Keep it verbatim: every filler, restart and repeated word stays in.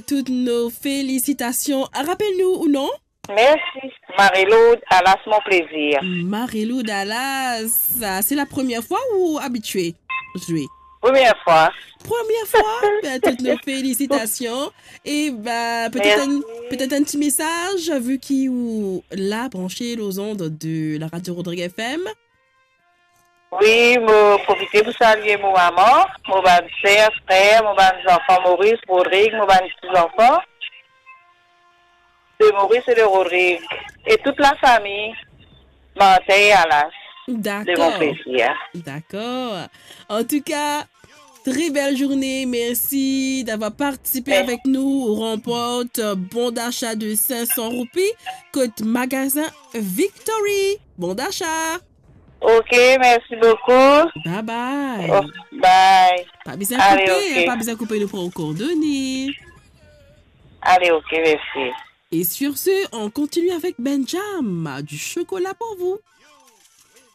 Toutes nos félicitations. Rappel nou ou non? Mersi. Marie-Lourdes Alas, Mon Plaisir. Marie-Lourdes Alas, c'est la première fois ou habitué jouer? Première fois. Première fois? Ben, toutes nos félicitations. Et ben, peut-être un, peut-être un petit message, vu que vous la branché aux ondes de la radio Rodrigue F M. Wi, mo profite pou salie mo mama, mo bann ser, frer, mo bann zanfan Moris, Rodrig, mo bann ti zanfan de Moris e de Rodrig, e tout lafami Martin e Alas de Mon Plaisir. D'accord. En tout cas, très belle journée. Merci d'avoir participé avec nous. On remporte bon d'achat de cinq cents roupies. Côté magasin Victory. Bon d'achat. Ok, mersi boukou. Bye bye. Oh, bye. Pa bizin koupe, hein, pa bizin koupe, nou pran kordone. Ale, ok, mersi. Et sur ce, on continue avec Benjam, du chocolat pour vous.